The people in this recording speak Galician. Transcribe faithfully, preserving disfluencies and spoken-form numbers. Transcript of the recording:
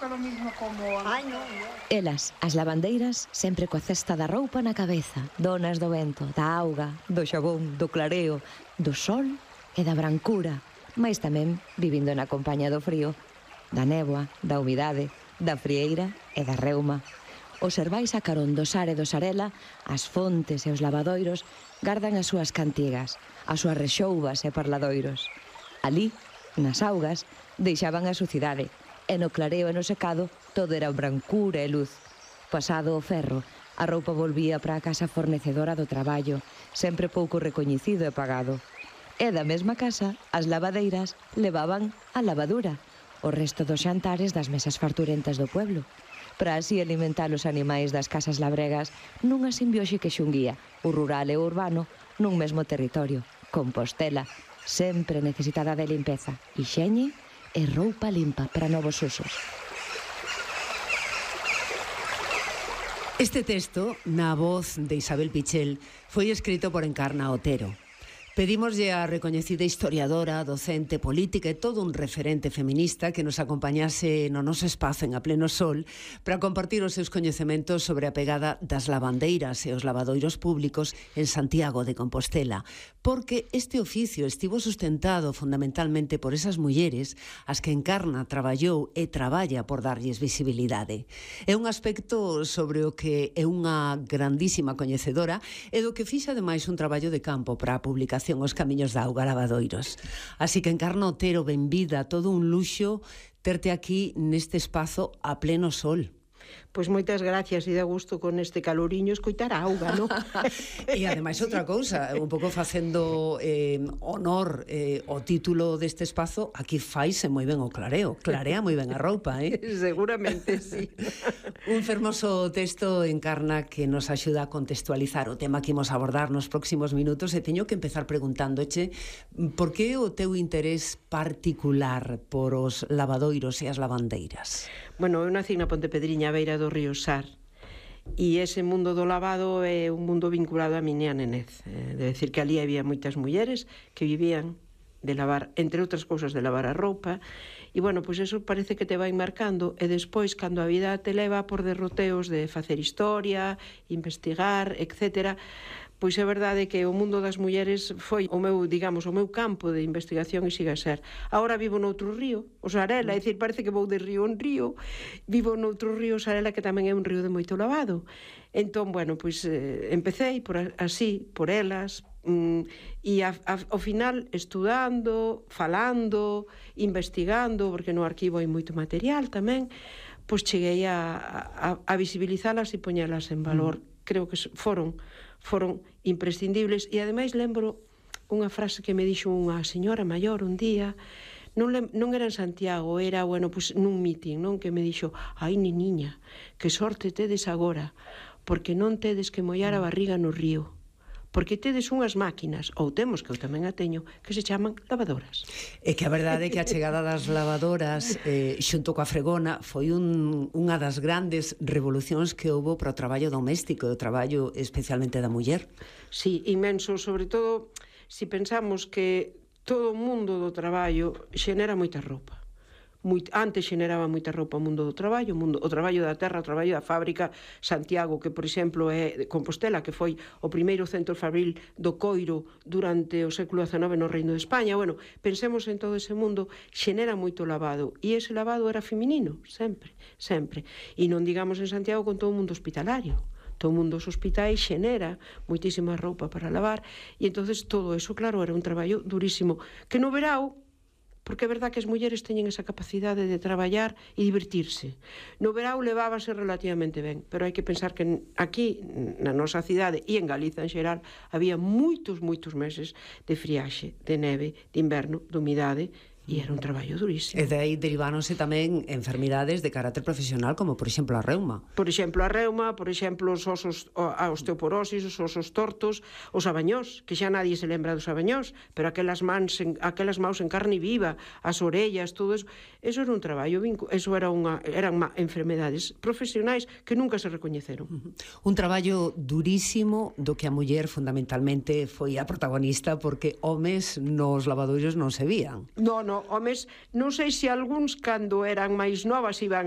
toca lo mismo como... Ai, non. Elas, as lavandeiras, sempre coa cesta da roupa na cabeza, donas do vento, da auga, do xabón, do clareo, do sol e da brancura, mais tamén vivindo na compañía do frío, da néboa, da humidade, da frieira e da reuma. Observais a carón do Sar e do Sarela, as fontes e os lavadoiros gardan as súas cantigas, as súas rexoubas e parladoiros. Ali, nas augas, deixaban a sucidade, e no clareo e no secado todo era brancura e luz. Pasado o ferro, a roupa volvía para a casa fornecedora do traballo, sempre pouco recoñecido e pagado. E da mesma casa, as lavadeiras levaban a lavadura, o resto dos xantares das mesas farturentas do pueblo, para así alimentar os animais das casas labregas nunha simbiose que xunguía o rural e o urbano nun mesmo territorio. Compostela, sempre necesitada de limpeza, hixiene e roupa limpa para novos usos. Este texto, na voz de Isabel Pichel, foi escrito por Encarna Otero. Pedímoslle a recoñecida historiadora, docente, política e todo un referente feminista que nos acompañase no noso espazo en A Pleno Sol para compartir os seus coñecementos sobre a pegada das lavandeiras e os lavadoiros públicos en Santiago de Compostela, porque este oficio estivo sustentado fundamentalmente por esas mulleres as que Encarna traballou e traballa por darlles visibilidade. É un aspecto sobre o que é unha grandísima coñecedora e do que fixa ademais un traballo de campo para a publicación Os Camiños da Auga Lavadoiros. Así que, Encarna Otero, benvida, todo un luxo terte aquí neste espazo a pleno sol. Pois moitas gracias, e dá gusto con este caloriño escoitar a auga, non? E ademais outra cousa, un pouco facendo eh, honor eh, o título deste espazo, aquí faise moi ben o clareo, clarea moi ben a roupa, eh? Seguramente, sí. Un fermoso texto, Encarna, que nos axuda a contextualizar o tema que imos abordar nos próximos minutos, e teño que empezar preguntándoche por que o teu interés particular por os lavadoiros e as lavandeiras? Bueno, eu nací na Pontepedriña, a beira do río Sar, e ese mundo do lavado é un mundo vinculado a miña nenez. É decir, que ali había moitas mulleres que vivían de lavar, entre outras cousas, de lavar a roupa, e, bueno, pois eso parece que te vai marcando, e despois, cando a vida te leva por derroteos de facer historia, investigar, etcétera, pois é verdade que o mundo das mulleres foi o meu, digamos, o meu campo de investigación e siga a ser. Agora vivo noutro río, o Sarela, é dicir, parece que vou de río en río, vivo noutro río, Sarela, que tamén é un río de moito lavado. Entón, bueno, pois eh, empecéi por así, por elas, mm, e a, a, ao final estudando, falando, investigando, porque no arquivo hai moito material tamén, pois cheguei a, a, a visibilizalas e poñelas en valor. Mm. Creo que foron foron imprescindibles, e ademais lembro unha frase que me dixo unha señora maior un día, non, le, non era en Santiago, era, bueno, pues, nun meeting, non, que me dixo: ai, neniña, que sorte tedes agora, porque non tedes que mollar a barriga no río, porque tedes unhas máquinas, ou temos, que eu tamén a teño, que se chaman lavadoras. É que a verdade é que a chegada das lavadoras eh, xunto coa fregona foi un, unha das grandes revolucións que houbo para o traballo doméstico, o traballo especialmente da muller. Sí, inmenso, sobre todo se si pensamos que todo o mundo do traballo xenera moita roupa. Muito, antes xeneraba moita roupa o mundo do traballo, o, mundo, o traballo da terra, o traballo da fábrica. Santiago, que por exemplo é Compostela, que foi o primeiro centro fabril do coiro durante o século dezenove no Reino de España. Bueno, pensemos en todo ese mundo, xenera moito lavado, e ese lavado era feminino, sempre, sempre. E non digamos en Santiago con todo o mundo hospitalario. Todo o mundo dos hospitais xenera moitísima roupa para lavar, e entonces todo eso, claro, era un traballo durísimo, que no verao, porque é verdad que as mulleres teñen esa capacidade de traballar e divertirse. No verao levábase relativamente ben, pero hai que pensar que aquí, na nosa cidade e en Galiza en xeral, había moitos, moitos meses de friaxe, de neve, de inverno, de humidade, e era un traballo durísimo. E de aí deriváronse tamén enfermidades de carácter profesional, como por exemplo a reuma. Por exemplo a reuma, por exemplo os osos, a osteoporosis, os osos tortos, os abañós, que xa nadie se lembra dos abañós, pero aquelas mans en, aquelas maus en carne viva, as orellas, todo eso, eso era un traballo, eso era unha, eran enfermedades profesionais que nunca se recoñeceron. Uh-huh. Un traballo durísimo do que a muller fundamentalmente foi a protagonista, porque homes nos lavadoiros non se vían. Non, non, homes, non sei se algúns cando eran máis novas iban